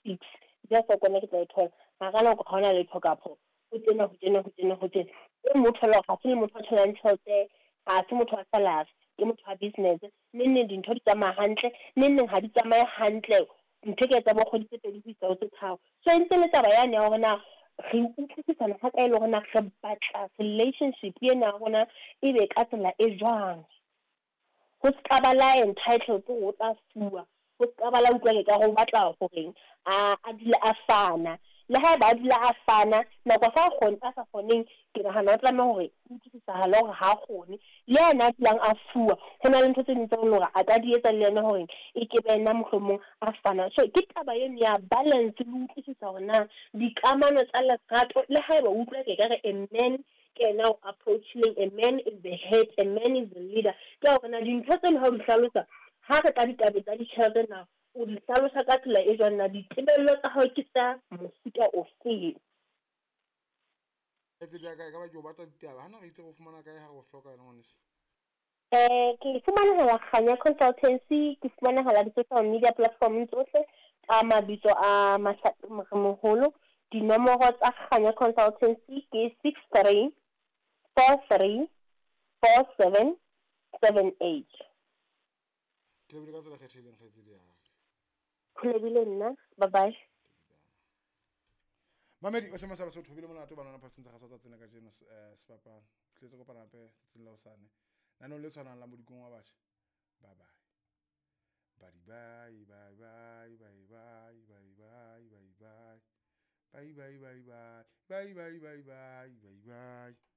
6 just o kone ke tla e thola hara nako ha hona letho kapo o tena ho tena ho tena ho tena e motho lo ha se le motho a tholang tjhelete, ha se motho wa salary, ke motho wa business. Neng neng dintho di tsamaya hantle, neng neng ha di tsamaye hantle, ntho e ka etsa bo kgwedi tse 2 ho isa ho tse 3. So e ntse le taba yane ya hore na re utlwisisana ha kae le hore na re batla relationship ena ya rona e be ka tsela e jwang. Ho ska ba la entitled hore o tla fuwa, ho ska ba la utlwa ke ka re o batla horeng a dule a fana. Le haeba a dula a fana nako sa kgone a sa kgoneng, ke nahana o tlameha hore o utlwisisahale hore ha kgone. Le yena a dulang a fuwa, ho na le ntho tse ding tse leng hore a ka di etsa le yena hore e ke be yena mohlomong a fana. So ke taba eno ya balance le utlwisisa hore na dikamano tsa lerato, le haeba o utlwa ke ka re a man ke yena o approach-ileng, a man is the head, a man is the leader. Ke hore na dintho tseno ha o di hlalosa, ha re tla ditabeng tsa ditjhelete na o di hlalosa ka tsela e jwang, na ditebello tsa hao ke tsa mofuta ofeng. Kgaitsedi ya ka, e ka ba ke o batla ditaba. Hana re itse re o fumana kae ha re o hloka yona ngwaneso? Ke fumanehala Kganya Consultancy, ke fumanehala di-social media platform tsohle ka mabitso a Mahlape Moremoholo. Dinomoro tsa Kganya Consultancy ke 63 43 47 78. Ke lebile ka tsela kgethehileng kgaitsedi ya ka. Ho lebile nna, bye bye. Mamedi o sema sa Basotho bile monate ba nona phaseng tsa gaso tsa tsena kajeno sefapano. Tletse kopana hape tsatsing la hosane. Nanong le tshwanang la modikong wa batjha. Bye bye. Bye bye bye bye bye bye bye bye bye bye. Bye bye bye bye. Bye bye bye bye bye bye.